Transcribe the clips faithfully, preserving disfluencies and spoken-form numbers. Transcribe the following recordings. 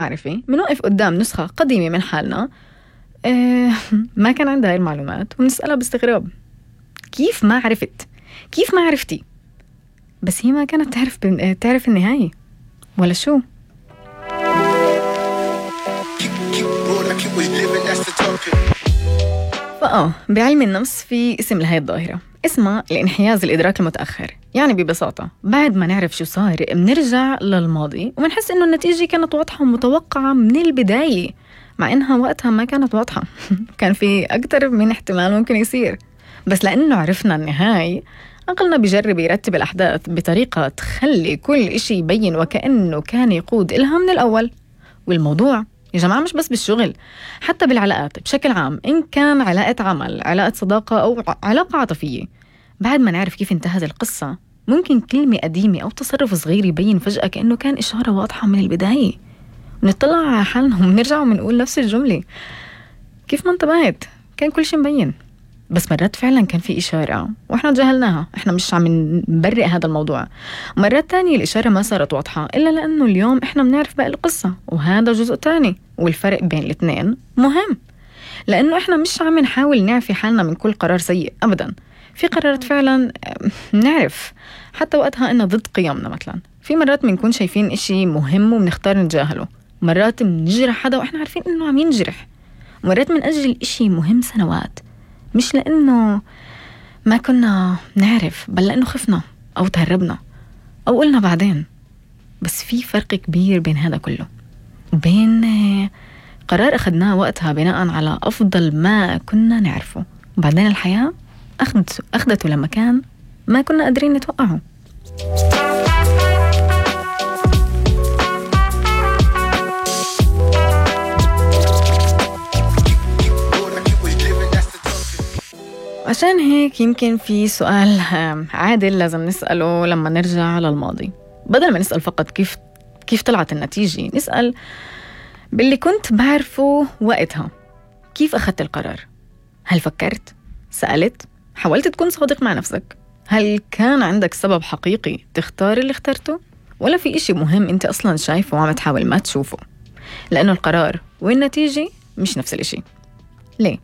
معرفة منوقف قدام نسخة قديمة من حالنا اه ما كان عندها هاي المعلومات ونسألها باستغراب كيف ما عرفت كيف ما عرفتي بس هي ما كانت تعرف بن... تعرف النهاية ولا شو. فآه بعلم النفس في اسم لهي الظاهرة اسمها الانحياز الإدراك المتأخر. يعني ببساطة بعد ما نعرف شو صار بنرجع للماضي وبنحس إنه النتيجة كانت واضحة ومتوقعة من البداية مع إنها وقتها ما كانت واضحة كان في أكتر من احتمال ممكن يصير بس لأنه عرفنا النهاية عقلنا بيجرب يرتب الأحداث بطريقة تخلي كل إشي يبين وكأنه كان يقود إلها من الأول. والموضوع يا جماعة مش بس بالشغل حتى بالعلاقات بشكل عام إن كان علاقة عمل علاقة صداقة أو علاقة عاطفية. بعد ما نعرف كيف انتهت القصة ممكن كلمة قديمة أو تصرف صغير يبين فجأة كأنه كان إشارة واضحة من البداية ونطلع على حالنا ونرجع ونقول نفس الجملة كيف ما انتبهت كان كل شيء مبين بس مرات فعلا كان في إشارة وإحنا تجاهلناها. إحنا مش عم نبرئ هذا الموضوع. مرات تانية الإشارة ما صارت واضحة إلا لأنه اليوم إحنا بنعرف باقي القصة وهذا جزء تاني والفرق بين الاثنين مهم لأنه إحنا مش عم نحاول نعفي حالنا من كل قرار سيء أبدا. في قرارات فعلا نعرف حتى وقتها إنه ضد قيمنا. مثلا في مرات بنكون شايفين إشي مهم وبنختار نتجاهله. مرات بنجرح حدا وإحنا عارفين إنه عم ينجرح. مرات بنأجل إشي مهم سنوات مش لأنه ما كنا نعرف بل لأنه خفنا أو تهربنا أو قلنا بعدين. بس في فرق كبير بين هذا كله وبين قرار أخذناه وقتها بناء على أفضل ما كنا نعرفه وبعدين الحياة أخذته, أخذته لما كان ما كنا قادرين نتوقعه. عشان هيك يمكن في سؤال عادل لازم نسأله لما نرجع للماضي. بدل ما نسأل فقط كيف كيف طلعت النتيجة نسأل باللي كنت بعرفه وقتها كيف أخذت القرار. هل فكرت؟ سألت؟ حاولت تكون صادق مع نفسك؟ هل كان عندك سبب حقيقي تختار اللي اخترته؟ ولا في إشي مهم أنت أصلاً شايفه وعم تحاول ما تشوفه؟ لأنه القرار والنتيجة مش نفس الإشي. ليه؟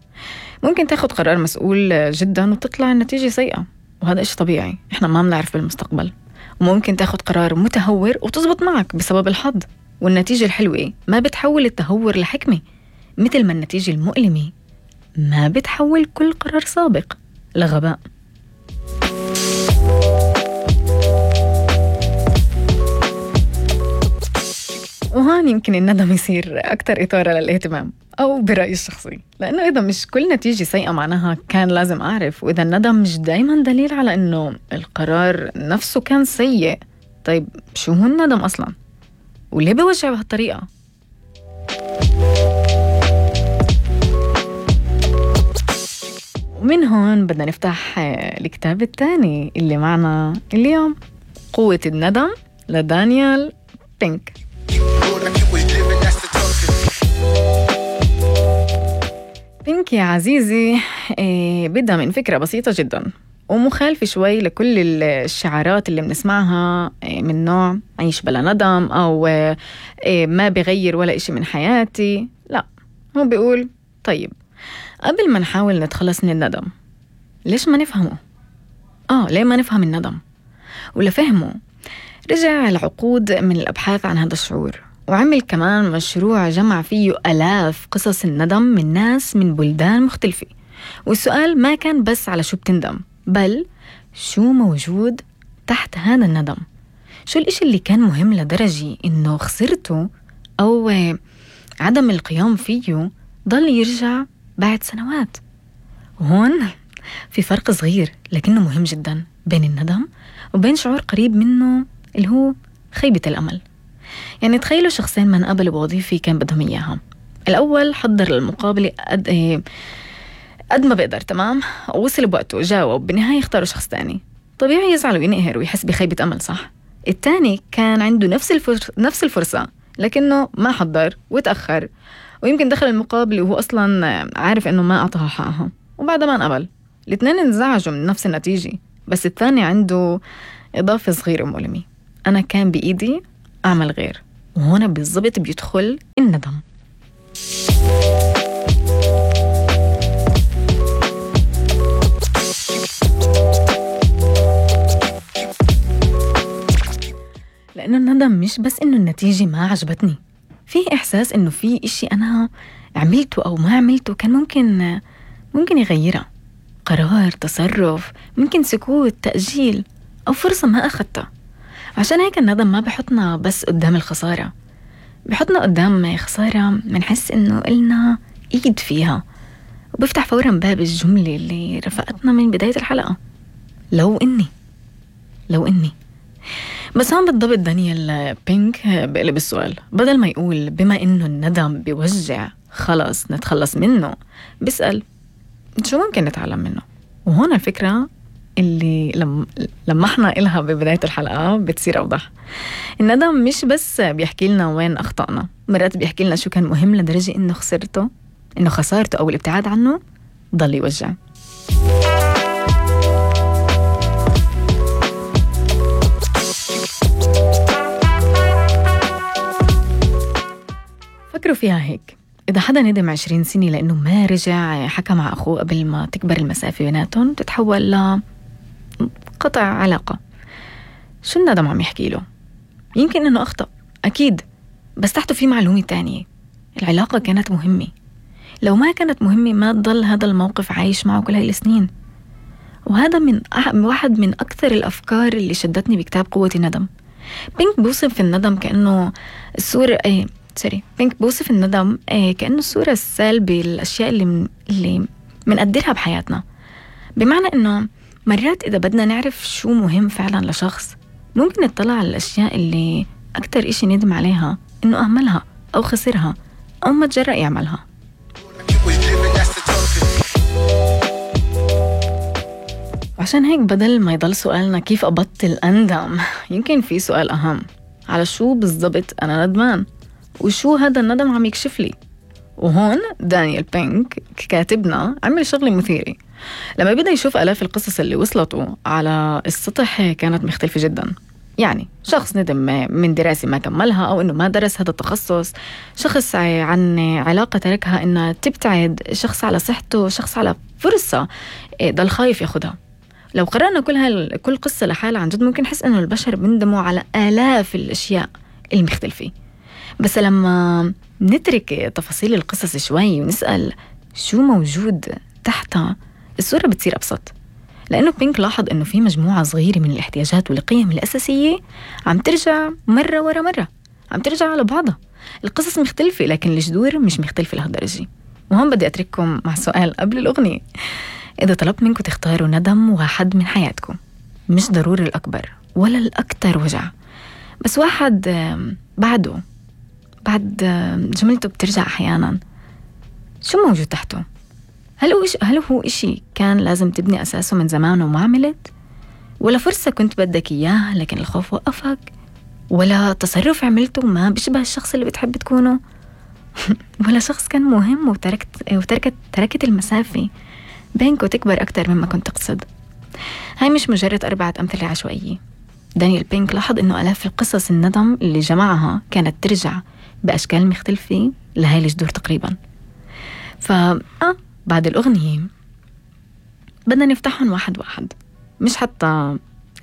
ممكن تاخد قرار مسؤول جدا وتطلع النتيجة سيئة وهذا إشي طبيعي إحنا ما بنعرف بالمستقبل. وممكن تاخد قرار متهور وتزبط معك بسبب الحظ والنتيجة الحلوة ما بتحول التهور لحكمة مثل ما النتيجة المؤلمة ما بتحول كل قرار سابق لغباء. وهان يمكن الندم يصير أكتر إثارة للاهتمام أو برأيي الشخصي لأنه إذا مش كل نتيجة سيئة معناها كان لازم أعرف وإذا الندم مش دايما دليل على أنه القرار نفسه كان سيء. طيب شو هو الندم أصلا وليه بوجع بهالطريقة؟ ومن هون بدنا نفتح الكتاب الثاني اللي معنا اليوم قوة الندم لدانيال بينك. بينك يا عزيزي إيه بدها من فكرة بسيطة جدا ومخالفة شوي لكل الشعارات اللي بنسمعها إيه من نوع عيش بلا ندم أو إيه ما بغير ولا إشي من حياتي. لا هو بيقول طيب قبل ما نحاول نتخلص من الندم ليش ما نفهمه؟ آه ليه ما نفهم الندم؟ ولفهمه رجع العقود من الأبحاث عن هذا الشعور وعمل كمان مشروع جمع فيه آلاف قصص الندم من ناس من بلدان مختلفة. والسؤال ما كان بس على شو بتندم بل شو موجود تحت هذا الندم. شو الإشي اللي كان مهم لدرجة إنه خسرته أو عدم القيام فيه ضل يرجع بعد سنوات. وهون في فرق صغير لكنه مهم جدا بين الندم وبين شعور قريب منه اللي هو خيبة الأمل. يعني تخيلوا شخصين ما انقبلوا بوظيفة كان بدهم إياها. الأول حضر للمقابلة قد, إيه قد ما بقدر تمام ووصل بوقته جاوب بالنهاية اختاروا شخص تاني. طبيعي يزعل وينقهر ويحس بخيبة أمل صح؟ التاني كان عنده نفس, الفرص نفس الفرصة لكنه ما حضر وتأخر ويمكن دخل المقابلة وهو أصلا عارف إنه ما أعطاها حقها وبعد ما انقبل. الاثنين انزعجوا من نفس النتيجة بس الثاني عنده إضافة صغيرة مؤلمة. أنا كان بإيدي أعمل غير وهون بالضبط بيدخل الندم. لأنه الندم مش بس إنه النتيجة ما عجبتني، في إحساس إنه في إشي أنا عملته أو ما عملته كان ممكن ممكن يغيرها، قرار، تصرف، ممكن سكوت، تأجيل، أو فرصة ما أخدتها. عشان هيك الندم ما بحطنا بس قدام الخسارة، بحطنا قدام خسارة منحس إنه إلنا إيد فيها، وبفتح فورا باب الجملة اللي رفقتنا من بداية الحلقة، لو إني لو إني بس هون بالضبط دانيال بينك بقلب السؤال، بدل ما يقول بما إنه الندم بيوجع خلص نتخلص منه، بيسأل شو ممكن نتعلم منه. وهون الفكرة اللي لم لمحنا إلها ببداية الحلقة بتصير أوضح. الندم مش بس بيحكي لنا وين أخطأنا، مرات بيحكي لنا شو كان مهم لدرجة إنه خسرته إنه خسارته أو الابتعاد عنه ضل يوجع. فكروا فيها هيك، إذا حدا ندم عشرين سنة لأنه ما رجع حكى مع أخوه قبل ما تكبر المسافة بيناتهم تتحول لقطع علاقة، شو الندم عم يحكي له؟ يمكن إنه أخطأ أكيد، بس تحته في معلومة تانية، العلاقة كانت مهمة، لو ما كانت مهمة ما تضل هذا الموقف عايش معه كل هاي السنين. وهذا من أح- واحد من أكثر الأفكار اللي شدتني بكتاب قوة الندم. بينك بوصف الندم كأنه الصورة ايه سوري بينك بوصف الندم ايه كأنه الصورة السلبية للأشياء اللي من اللي منقدرها بحياتنا، بمعنى إنه مرات إذا بدنا نعرف شو مهم فعلا لشخص ممكن نطلع على الأشياء اللي أكتر إشي ندم عليها إنه أهملها أو خسرها أو ما تجرأ يعملها. عشان هيك بدل ما يضل سؤالنا كيف أبطل أندم، يمكن في سؤال أهم، على شو بالضبط أنا ندمان وشو هذا الندم عم يكشف لي. وهون دانيال بينك كاتبنا عمل شغلة مثيرة، لما بدأ يشوف آلاف القصص اللي وصلته على السطح كانت مختلفة جدا. يعني شخص ندم من دراسة ما كملها أو إنه ما درس هذا التخصص، شخص عن علاقة تركها إنها تبتعد، شخص على صحته، شخص على فرصة ضل خايف ياخدها. لو قرأنا كل هال كل قصة لحالها عن جد ممكن نحس إنه البشر بندموا على آلاف الأشياء المختلفة، بس لما نترك تفاصيل القصص شوي ونسأل شو موجود تحتها الصورة بتصير أبسط. لأنه بينك لاحظ إنه في مجموعة صغيرة من الاحتياجات والقيم الأساسية عم ترجع مرة ورا مرة، عم ترجع على بعضها. القصص مختلفة لكن الجذور مش مختلفة لهالدرجة. وهم بدي أترككم مع سؤال قبل الأغنية، إذا طلبت منكم تختاروا ندم واحد من حياتكم، مش ضروري الأكبر ولا الأكتر وجع، بس واحد بعده بعد جملته بترجع أحيانا، شو موجود تحته؟ هل هو إش... هل هو إشي كان لازم تبني أساسه من زمان وما عملت؟ ولا فرصة كنت بدك إياها لكن الخوف وقفك؟ ولا تصرف عملته ما بيشبه الشخص اللي بتحب تكونه؟ ولا شخص كان مهم وتركت وتركت تركت المسافة بينكم تكبر أكتر مما كنت تقصد؟ هاي مش مجرد أربعة أمثلة عشوائية. دانيال بينك لاحظ إنه آلاف القصص الندم اللي جمعها كانت ترجع بأشكال مختلفة لهاي الجذور تقريبا. فا آه بعد الأغنية بدنا نفتحهم واحد واحد، مش حتى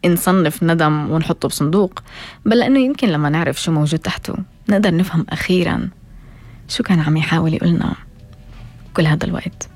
نصنف ندم ونحطه بصندوق، بل لأنه يمكن لما نعرف شو موجود تحته نقدر نفهم أخيرا شو كان عم يحاول يقولنا كل هذا الوقت.